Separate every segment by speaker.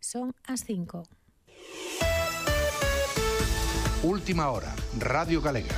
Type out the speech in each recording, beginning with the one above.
Speaker 1: Son as 5.
Speaker 2: Última hora, Radio Galega.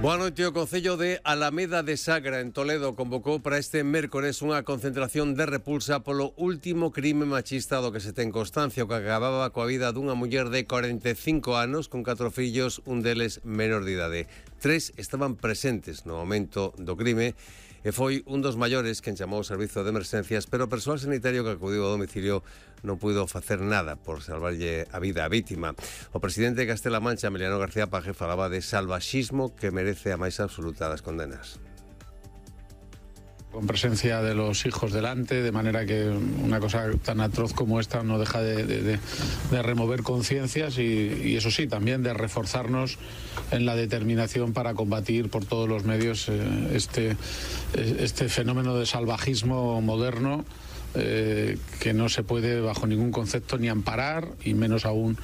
Speaker 3: Boa noite. O Concello de Alameda de Sagra, en Toledo, convocou para este mércores unha concentración de repulsa polo último crime machista do que se ten constancia, o que acababa coa vida dunha muller de 45 anos con 4 fillos, un deles menor de idade. 3 estaban presentes no momento do crime e foi un dos maiores quen chamou ao servizo de emerxencias, pero o persoal sanitario que acudiu ao domicilio non puido facer nada por salvarlle a vida á vítima. O presidente de Castela Mancha, Emiliano García Paje, falaba de salvaxismo que merece a máis absoluta das condenas.
Speaker 4: Con presencia de los hijos delante, de manera que una cosa tan atroz como esta no deja de remover conciencias y eso sí, también de reforzarnos en la determinación para combatir por todos los medios este fenómeno de salvajismo moderno que no se puede bajo ningún concepto ni amparar y menos aún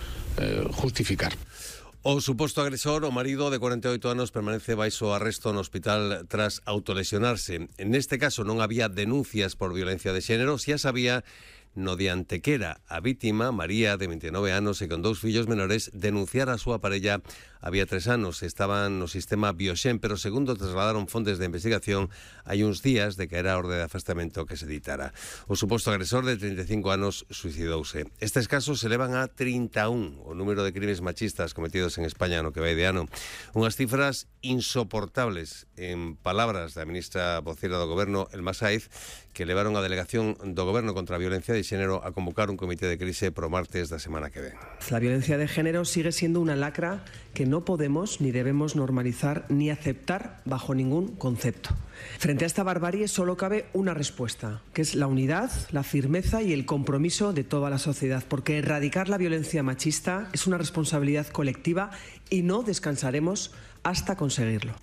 Speaker 4: justificar.
Speaker 3: O suposto agresor, o marido de 48 anos, permanece baixo arresto no hospital tras autolesionarse. Neste caso non había denuncias por violencia de xénero, si as había no de Antequera. A vítima, María, de 29 anos e con 2 fillos menores, denunciara a súa parella había 3 anos. Estaban no sistema Bioxen, pero segundo trasladaron fontes de investigación, hai uns días de que era a orde de afastamento que se ditara. O suposto agresor de 35 anos suicidouse. Estes casos se levan a 31 o número de crimes machistas cometidos en España no que vai de ano. Unhas cifras insoportables, en palabras da ministra voceira do Goberno, Elma Saiz, que levaron a delegación do Goberno contra a violencia de xénero a convocar un comité de crise pro martes da semana que ven.
Speaker 5: La violencia de género sigue siendo una lacra que no podemos ni debemos normalizar ni aceptar bajo ningún concepto. Frente a esta barbarie solo cabe una respuesta, que es la unidad, la firmeza y el compromiso de toda la sociedad, porque erradicar la violencia machista es una responsabilidad colectiva y no descansaremos hasta conseguirlo.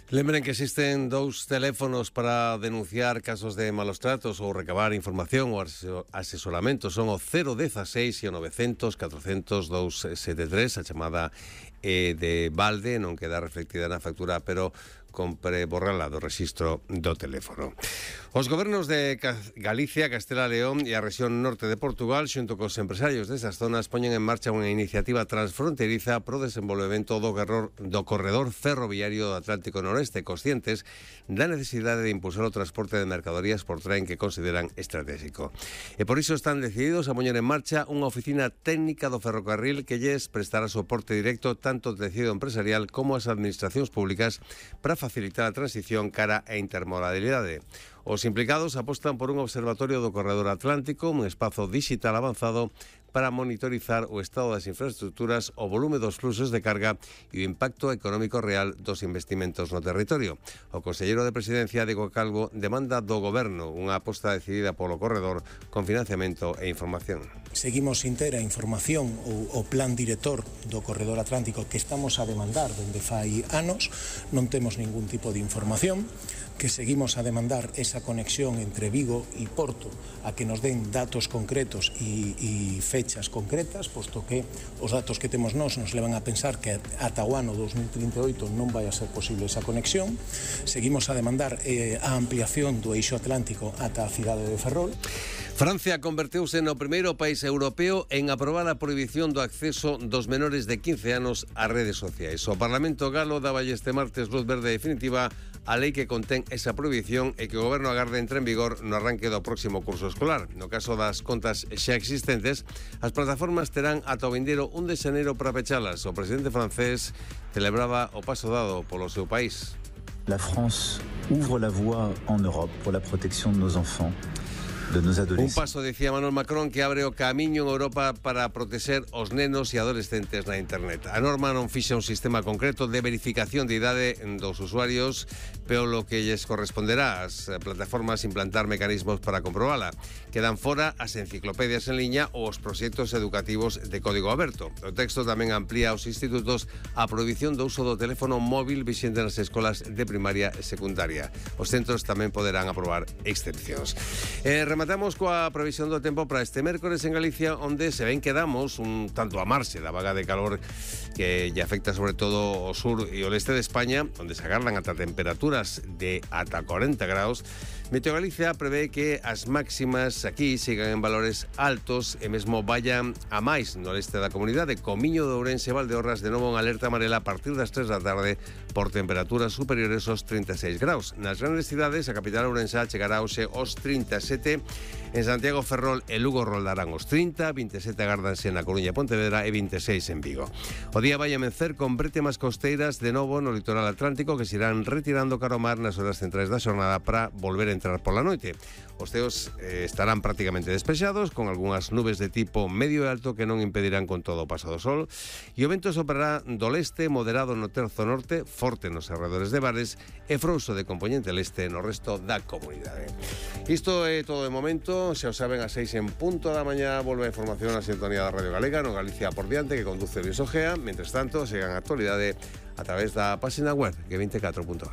Speaker 3: Lembren que existen 2 teléfonos para denunciar casos de malos tratos ou recabar información ou asesoramento. Son o 016 e o 900 400 273. A chamada de balde non queda reflectida na factura, pero compre borrala do rexistro do teléfono. Os gobernos de Galicia, Castela e León e a rexión norte de Portugal, xunto cos empresarios desas zonas, poñen en marcha unha iniciativa transfronteriza pro desenvolvemento do corredor ferroviario do Atlántico Noreste, conscientes da necesidade de impulsar o transporte de mercadorías por tren que consideran estratégico. E por iso están decididos a poñer en marcha unha oficina técnica do ferrocarril que lles prestará soporte directo tanto ao tecido empresarial como ás administracións públicas para facilitar a transición cara a intermodalidade. Os implicados apostan por un observatorio do corredor atlántico, un espazo digital avanzado para monitorizar o estado das infraestructuras, o volume dos fluxos de carga e o impacto económico real dos investimentos no territorio. O conselleiro de Presidencia, Diego Calvo, demanda do Goberno unha aposta decidida polo corredor con financiamento e información.
Speaker 6: Seguimos sin ter a información ou o plan director do corredor atlántico que estamos a demandar dende fai anos. Non temos ningún tipo de información, que seguimos a demandar esa conexión entre Vigo e Porto a que nos den datos concretos e fechas concretas, posto que os datos que temos nos levan a pensar que ata o ano 2038 non vai a ser posible esa conexión. Seguimos a demandar a ampliación do eixo atlántico ata a cidade de Ferrol.
Speaker 3: Francia converteuse no primeiro país europeo en aprobar a prohibición do acceso dos menores de 15 anos a redes sociais. O Parlamento galo daba este martes luz verde definitiva a lei que contén esa prohibición e que o Goberno agarda entre en vigor no arranque do próximo curso escolar. No caso das contas xa existentes, as plataformas terán ata o vindeiro 1 de xaneiro para pechalas. O presidente francés celebraba o paso dado polo seu país.
Speaker 7: La France ouvre la voie en Europe pour la protection de nos enfants.
Speaker 3: Un paso, decía Manuel Macron, que abre o camiño en Europa para protexer os nenos e adolescentes na internet. A norma non fixa un sistema concreto de verificación de idade dos usuarios, pero lo que lles corresponderá ás plataformas implantar mecanismos para comprobala. Quedan fora as enciclopedias en liña ou os proxectos educativos de código aberto. O texto tamén amplía aos institutos a prohibición do uso do teléfono móvil vixente nas escolas de primaria e secundaria. Os centros tamén poderán aprobar excepcións. Rematamos coa previsión do tempo para este mércores en Galicia, onde se ven que damos un tanto a marxe da vaga de calor que lle afecta sobre todo o sur e o leste de España, onde se agardan ata temperaturas de ata 40 graus. Meteogalicia prevé que as máximas aquí sigan en valores altos e mesmo vayan a máis no leste da comunidade. Comiño de Ourense e Valdeorras de novo en alerta amarela a partir das 3 da tarde por temperaturas superiores aos 36 graus. Nas grandes cidades, a capital ourensá chegará hoxe aos 37, en Santiago, Ferrol e Lugo roldarán os 30, 27 agárdanse na Coruña e Pontevedra e 26 en Vigo. O día vai amencer con brétemas costeiras de novo no litoral atlántico que se irán retirando cara ao mar nas horas centrais da xornada para volver a entrar pola noite. Os ceos estarán prácticamente despexados, con algunhas nubes de tipo medio e alto que non impedirán con todo o paso do sol, e o vento soprará do leste, moderado no terzo norte, forte nos arredores de Bares e frouxo de compoñente leste no resto da comunidade. Isto é todo de momento, xa o saben, a 6 en punto da mañá volve a información a sintonía da Radio Galega no Galicia por diante, que conduce Luis Ojea. Mentres tanto, sigan a actualidade a través da página web g24.gal.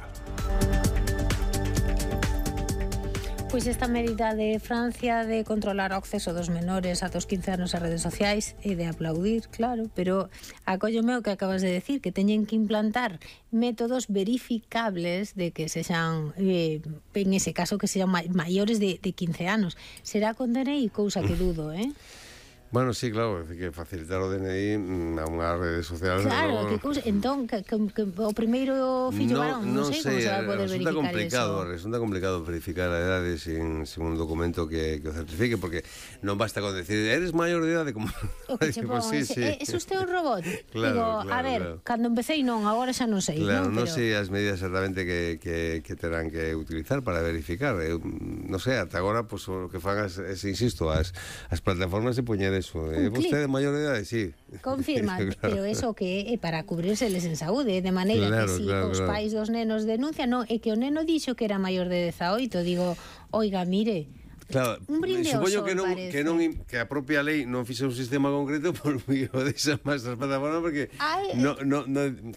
Speaker 1: Pois esta medida de Francia de controlar o acceso dos menores ata os 15 anos a redes sociais é de aplaudir, claro, pero acóllome o que acabas de decir, que teñen que implantar métodos verificables de que sexan, en ese caso, que sexan maiores de 15 anos. Será con DNI, cousa que dudo,
Speaker 3: Bueno, sí, claro, que facilitar o DNI a unha rede social.
Speaker 1: Claro, que cousa, entón, que o primeiro fillo varón, non sei como se vai poder verificar eso.
Speaker 3: Resulta complicado verificar a edade sin un documento que o certifique, porque non basta con decir, eres maior de idade, como...
Speaker 1: O que che pon,
Speaker 3: sí.
Speaker 1: ¿Es usted un robot?
Speaker 3: Claro,
Speaker 1: digo, a ver, cando empecé non, agora xa non sei.
Speaker 3: Claro, non
Speaker 1: pero...
Speaker 3: sei as medidas exactamente que terán que utilizar para verificar. Non sei, ata agora, pues, o que fan insisto, as plataformas se poñer eso. Vostede maior de idade, sí.
Speaker 1: Confirma, claro. Pero eso que é para cubrirseles en saúde, de maneira que si os pais dos nenos denuncian, non, é que o neno dixo que era maior de 18, digo, oiga, mire,
Speaker 3: claro,
Speaker 1: un brinde ao sol,
Speaker 3: que a propia lei non fixe un sistema concreto por medio desa máis das plataformas, porque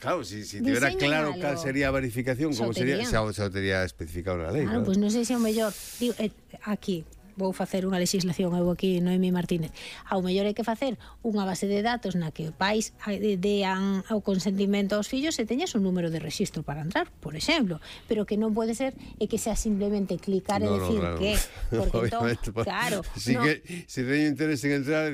Speaker 3: claro, si tivera claro cal sería a verificación, como sería, xa o tería especificado na lei.
Speaker 1: Claro, pois non sei se o mellor, digo, aquí vou facer unha legislación, eu aquí, Noemi Martínez. Ao mellor hai que facer unha base de datos na que pais dean o consentimento aos fillos e teñas un número de rexistro para entrar, por exemplo, pero que non pode ser e que sea simplemente clicar e decir claro. Que, porque entón, claro,
Speaker 3: si teño interés en entrar,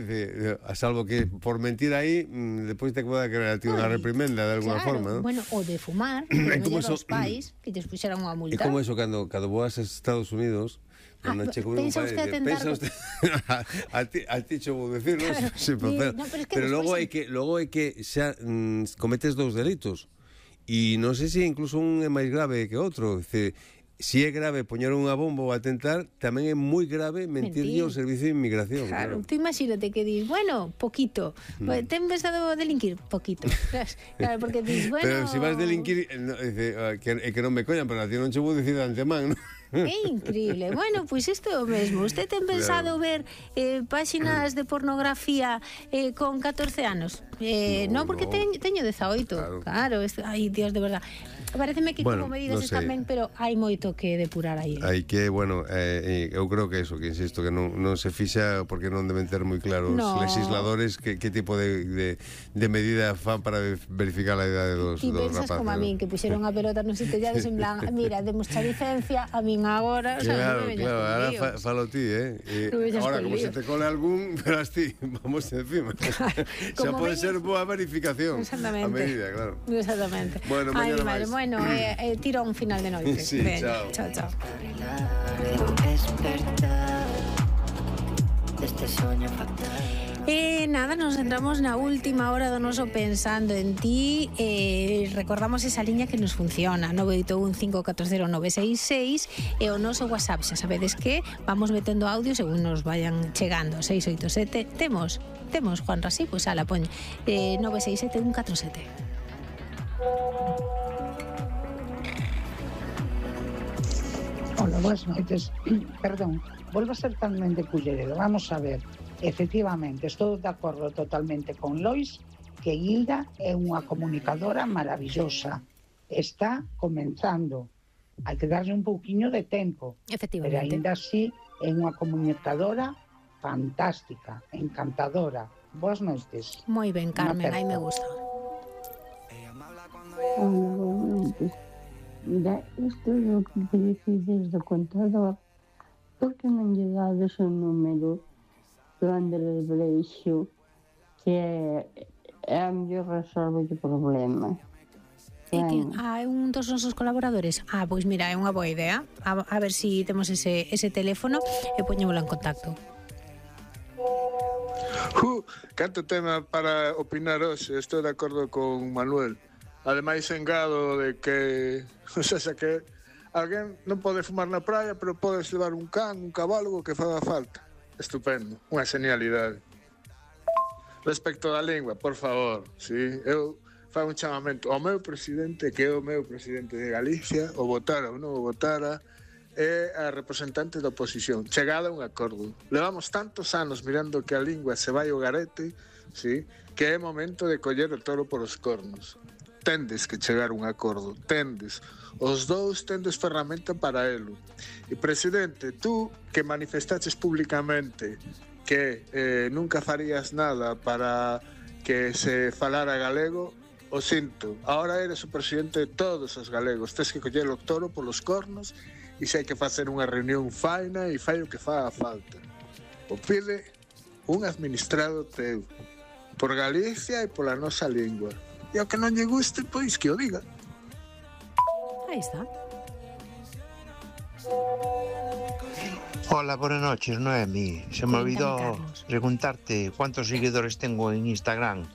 Speaker 3: a salvo que por mentir aí, depois te poda crear unha reprimenda de alguna forma, ¿no?
Speaker 1: Bueno, o de fumar, os pais que te puxeran unha multa.
Speaker 3: E como eso cando voas a Estados Unidos,
Speaker 1: pensa usted atentar...
Speaker 3: a ti che vou decir, claro, pero logo é que xa cometes dous delitos e non sei se incluso un é máis grave que outro. Si é grave poñer unha bomba ou atentar, tamén é moi grave mentirlle ao servicio de inmigración.
Speaker 1: Claro, tú imagínate que dis, bueno, poquito, ten pensado delinquir, poquito. Claro, porque dis, bueno...
Speaker 3: Pero se vas delinquir, que non me coñan, pero a ti non che vou dicir de antemán, non?
Speaker 1: É increíble. Bueno, pois isto é o mesmo. Usted ten pensado ver páxinas de pornografía con 14 anos? Non, porque teño 18. Claro, ai, Dios, de verdad. Pareceme que como medidas están ben, pero hai moito que depurar aí.
Speaker 3: Hai que, eu creo que eso, que insisto, que non se fixa porque non deben ter moi claros legisladores que tipo de medida fan para verificar a idade dos rapaces.
Speaker 1: Ti pensas como a min, que puxeron a pelota nos sitellades en plan, mira, demos a licencia, a min agora,
Speaker 3: claro, ahora falo ti, ahora, como se te cole algún, verás ti, vamos encima. Xa pode ser boa verificación a medida, claro.
Speaker 1: Exactamente.
Speaker 3: Bueno,
Speaker 1: Bueno, tirón final de noite.
Speaker 3: Sí, chao.
Speaker 1: Chao. Nada, nos centramos na última hora do noso Pensando en Ti. Recordamos esa liña que nos funciona, 981-540-966, e o noso WhatsApp, xa sabedes que vamos metendo audio según nos vayan chegando. 687, temos Juan Rasí, pois ala, poñ 967-147.
Speaker 8: Hola, buenas noites. Perdón, volvo a ser totalmente culleredo. Vamos a ver, efectivamente, estou de acordo totalmente con Lois que Hilda é unha comunicadora maravillosa. Está comenzando. Hai que darlle un pouquiño de tempo.
Speaker 1: Efectivamente.
Speaker 8: Pero ainda así é unha comunicadora fantástica, encantadora. Boas noites.
Speaker 1: Moi ben, Carmen, aí me gusta.
Speaker 9: Isto é o que decides do contador. Por que non lle dades o número do Andrés Breixo, que é a mellor resolve o problema?
Speaker 1: É un dos nosos colaboradores. Pois mira, é unha boa idea. A ver se temos ese teléfono e poñémolo en contacto.
Speaker 10: Canto tema para opinar hoxe. Estou de acordo con Manuel. Ademais, engado de que, o sea, que alguén non pode fumar na praia, pero podes levar un can, un cabalo, que faga falta. Estupendo, unha genialidade. Respecto da lingua, por favor, sí, eu fago un chamamento ao meu presidente, que é o meu presidente de Galicia, o votara ou non o votara, é a representante da oposición. Chegada a un acordo. Levamos tantos anos mirando que a lingua se vai ao garete, sí, que é momento de coller o toro polos cornos. Tendes que chegar a un acordo, tendes. Os dous tendes ferramenta para elo. E, presidente, tú que manifestaches públicamente que nunca farías nada para que se falara galego, o sinto, ahora eres o presidente de todos os galegos, tes que coller o toro polos cornos e se hai que facer unha reunión faina e fai o que faga falta. O pide un administrado teu, por Galicia e pola nosa lingua. E ao que non lle guste, pois que o diga.
Speaker 1: Aí está.
Speaker 11: Hola, buenas noches, Noemi. Se me olvidó preguntarte cuántos seguidores tengo en Instagram.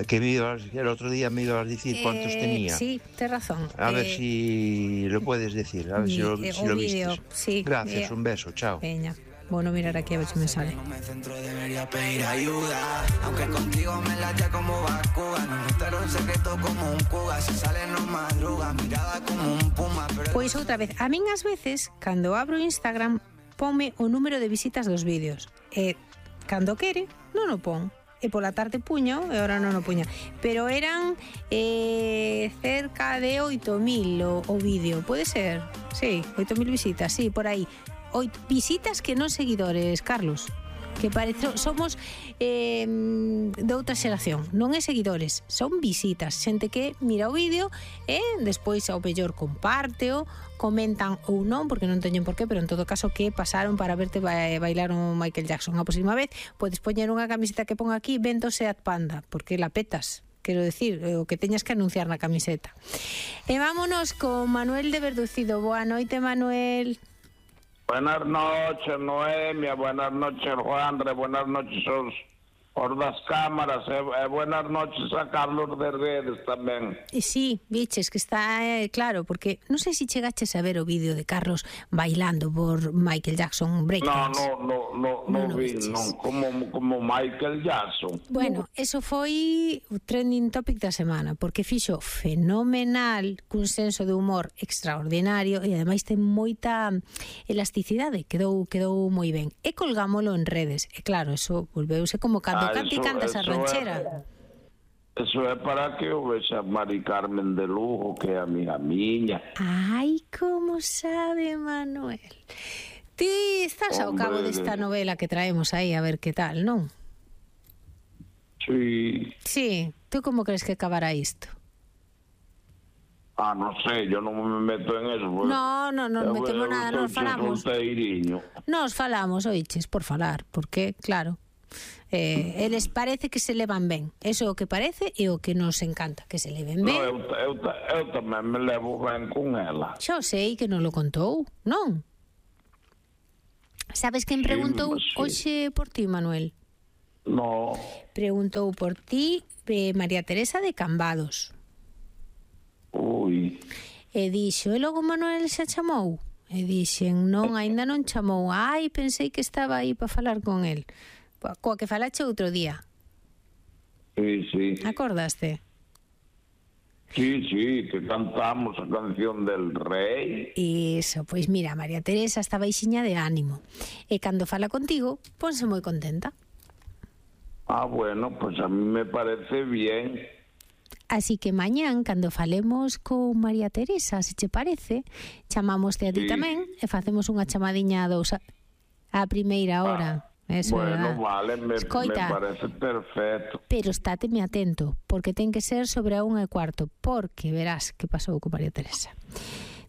Speaker 11: Que el otro día me ibas a decir cuántos tenía.
Speaker 1: Sí, tienes razón.
Speaker 11: A ver si lo puedes decir, a ver si lo viste.
Speaker 1: Sí,
Speaker 11: gracias, un beso, chao.
Speaker 1: Peña. Bueno, mirar aquí a ver si me sale.
Speaker 12: No me centro, debería pedir ayuda. Aunque contigo me late como vacuga. No notaron secreto como un cuga. Se sale no madruga, mirada como un puma.
Speaker 1: Pois outra vez, a min ás veces, cando abro Instagram, ponme o número de visitas dos vídeos. E cando quere, non o pon. E pola tarde puño, e ahora non o puña. Pero eran cerca de 8.000 o vídeo, pode ser? Sí, 8.000 visitas, sí, por aí. 8 visitas que non seguidores, Carlos. Que parece, somos de outra xeración. Non é seguidores, son visitas. Xente que mira o vídeo e despois ao mellor compárteo, comentan ou non, porque non teñen por qué, pero en todo caso que pasaron para verte bailar o Michael Jackson. A próxima vez podes poñer unha camiseta que pon aquí Vento Seat Panda, porque la petas. Quero decir, o que teñas que anunciar na camiseta. E vámonos con Manuel de Verducido. Boa noite, Manuel.
Speaker 13: Buenas noches, Noemia, buenas noches, Juanre, buenas noches os das cámaras, buenas noches a Carlos de Redes tamén.
Speaker 1: Sí, biches, que está claro, porque non sei se chegaches a ver o vídeo de Carlos bailando por Michael Jackson breakdance.
Speaker 13: Non vi, non, como Michael Jackson.
Speaker 1: Bueno, eso foi o trending topic da semana, porque fixo fenomenal, cun senso de humor extraordinario e ademais ten moita elasticidade, quedou moi ben. E colgámolo en redes, e claro, eso volveuse como cando canta e canta esa ranchera.
Speaker 13: Eso é para que o vexa Mari Carmen de Lugo, que é a miña.
Speaker 1: Ai, como sabe, Manuel. Ti estás ao cabo desta novela que traemos aí, a ver que tal, non?
Speaker 13: Sí.
Speaker 1: Sí, tú como crees que acabará isto?
Speaker 13: Non sei, yo non me meto en eso.
Speaker 1: Non metemos nada, nos falamos. Nos falamos, oiches, por falar, porque, claro, eles parece que se levan ben. Eso é o que parece e o que nos encanta, que se leven ben.
Speaker 13: Eu tamén me levo ben con ela.
Speaker 1: Xa sei que non lo contou, non? Sabes quen preguntou hoxe por ti, Manuel?
Speaker 13: No.
Speaker 1: Preguntou por ti María Teresa de Cambados.
Speaker 13: Ui.
Speaker 1: E dixo, e logo Manuel xa chamou? E dixen, non, aínda non chamou. Ai, pensei que estaba aí para falar con el. Coa que falache outro día.
Speaker 13: Sí.
Speaker 1: Acordaste?
Speaker 13: Sí, que cantamos a canción del rei.
Speaker 1: Iso, pois mira, María Teresa está baixiña de ánimo. E cando fala contigo, ponse moi contenta.
Speaker 13: Bueno, pues a mí me parece bien.
Speaker 1: Así que mañán, cando falemos con María Teresa, se che parece, chamámoste a ti tamén e facemos unha chamadiña a dous a primeira hora. Eso,
Speaker 13: bueno,
Speaker 1: verdad.
Speaker 13: vale, me
Speaker 1: Escoita,
Speaker 13: parece perfecto.
Speaker 1: pero estáteme atento, porque ten que ser sobre a 1:15, porque verás que pasou con María Teresa.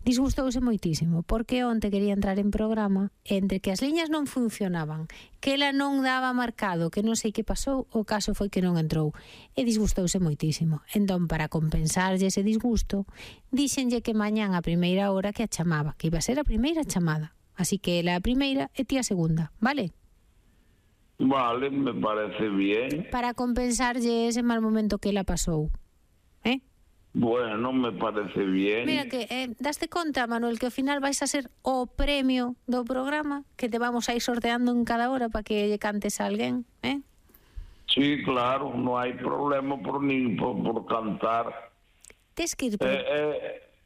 Speaker 1: Disgustouse moitísimo, porque onte quería entrar en programa, entre que as liñas non funcionaban, que ela non daba marcado, que non sei que pasou, o caso foi que non entrou, e disgustouse moitísimo. Entón, para compensarlle ese disgusto, díxenlle que mañán a primeira hora que a chamaba, que iba a ser a primeira chamada. Así que ela a primeira e ti a segunda, vale?
Speaker 13: Vale, me parece bien.
Speaker 1: Para compensarlle ese mal momento que ela pasou.
Speaker 13: Bueno, me parece bien.
Speaker 1: Mira que, daste conta, Manuel, que ao final vais a ser o premio do programa, que te vamos a ir sorteando en cada hora para que lle cantes a alguén,
Speaker 13: Sí, claro, no hai problema por cantar.
Speaker 1: Tes que ir...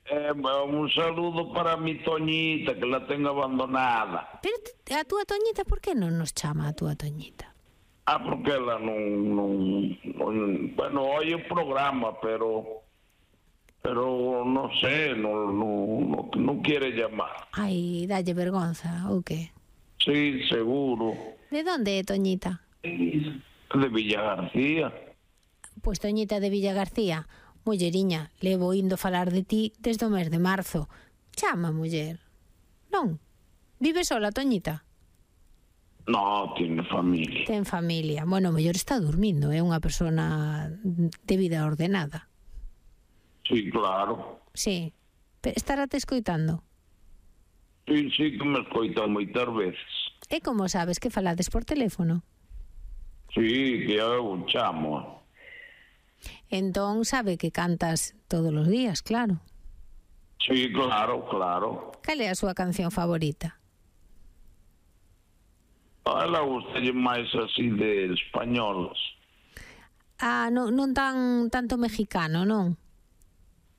Speaker 13: Un saludo para mi Toñita, que la tengo abandonada.
Speaker 1: Pero a túa Toñita, por que non nos chama a túa Toñita?
Speaker 13: Porque ela non bueno, oye o programa, pero no sé, no quiere llamar.
Speaker 1: Ai, dalle vergonza, ou que?
Speaker 13: Sí, seguro.
Speaker 1: De onde é Toñita?
Speaker 13: De Villa García.
Speaker 1: Pois Toñita de Villa García, mulleriña, levo indo falar de ti desde o mes de marzo. Chama, muller. Non? Vive sola, Toñita?
Speaker 13: No, tiene familia.
Speaker 1: Ten familia. Bueno, mellor está dormindo, é unha persona de vida ordenada.
Speaker 13: Sí, claro.
Speaker 1: Sí. Estará te escoitando?
Speaker 13: Sí, que me escoita moitas veces.
Speaker 1: E como sabes que falades por teléfono?
Speaker 13: Sí, que eu chamo.
Speaker 1: Entón sabe que cantas todos os días, claro.
Speaker 13: Sí, claro.
Speaker 1: Cal é a súa canción favorita?
Speaker 13: A ela gustalle máis así de españolas.
Speaker 1: Non tanto mexicano, non?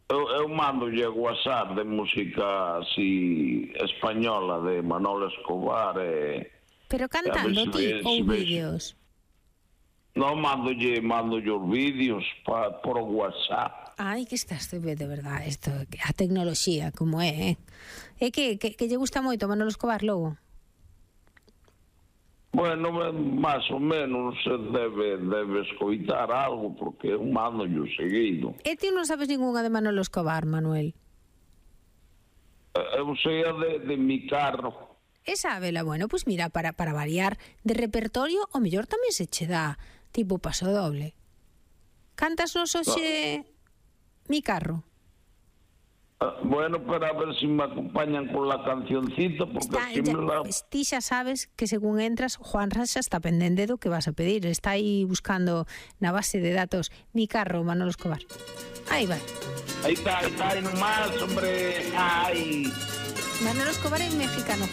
Speaker 13: Eu mando-lle a WhatsApp de música así española de Manolo Escobar
Speaker 1: Pero cantando ti ou vídeos?
Speaker 13: Non, mando-lle os vídeos por WhatsApp.
Speaker 1: Ai, que estás de verdad isto, a tecnoloxía como é, É que lle gusta moito Manolo Escobar logo?
Speaker 13: Bueno, máis ou menos debe escoitar algo, porque eu mando-llo seguido.
Speaker 1: E ti non sabes ningunha de Manolo Escobar, Manuel?
Speaker 13: Eu sei a de mi carro.
Speaker 1: E sábela, bueno, pois mira, para variar de repertorio, o mellor tamén se che dá tipo paso doble. Cantas nos hoxe mi carro?
Speaker 13: Bueno, para ver si me acompañan con la cancioncita, porque así me la...
Speaker 1: Ti xa sabes que según entras, Juan Rasha está pendente do que vas a pedir. Está aí buscando na base de datos mi carro, Manolo Escobar. Aí vai.
Speaker 13: Aí está, aí nomás, hombre. Ai.
Speaker 1: Manolo Escobar é mexicano,